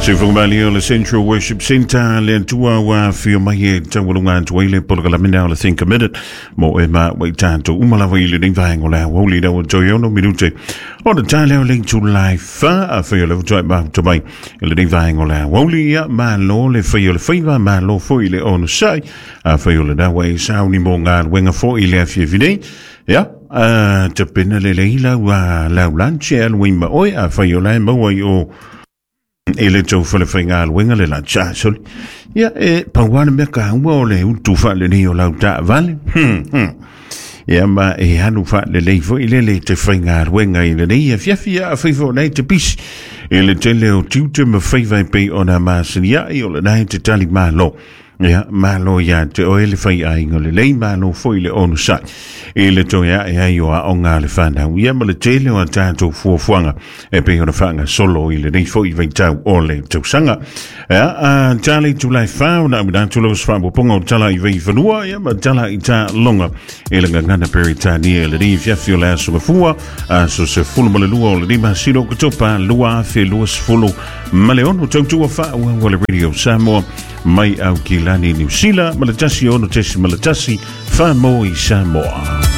Sifogamalī o le Central Worship Centre le Atua ua afio mai e taualuga atu ai le polokalame o le Think a Minute mo e ma ua i tatou uma lava i lenei vaega o le aoauli lau toe 6 minute o le taeao le itula e 4. Afai o le faatoa e mafuta mai i lenei vaega o le aoauli, ia malo le fai o le faiva, malo foi le onosai. Afai o lena ua e sauni mo galuega foi i le afiafi nei, ia tapena lelei lau lau lunch e alu ai ma oe. Afai o la e maua i o i le tou falefaigaluega le lunch, ah, sorry, ia e pau lava le mea taua o le utu faalelei o lau taavale. Ia ma e alu faalelei foi lele te faigaluega i lenei afiafi. Ia afai foi o lena e te pisi i le tele o tiute ma faiva e pei ona masani ai, o lena e te tali malo. Ia, malo ia te oe le faiaiga lelei, malo foi le onosai i le toe ae ai o aoga a le fanau, ia ma le tele o a tatou fuafuaga e pei ona faagasolo i lenei foi vaitau o le tausaga. Ia, a tali tulai 4 ona amina atu lau faapopoga o tala i vaifanua, ia ma tala i taaloga i le gagana Peretania i lenei afiafi o le aso Gafua, aso 12 o le masina o Oketopa 2026. Tautua faaauau a le Radio Samoa mai Aukilani, Niu Sila, ma le 106.1 Faamoi Samoa.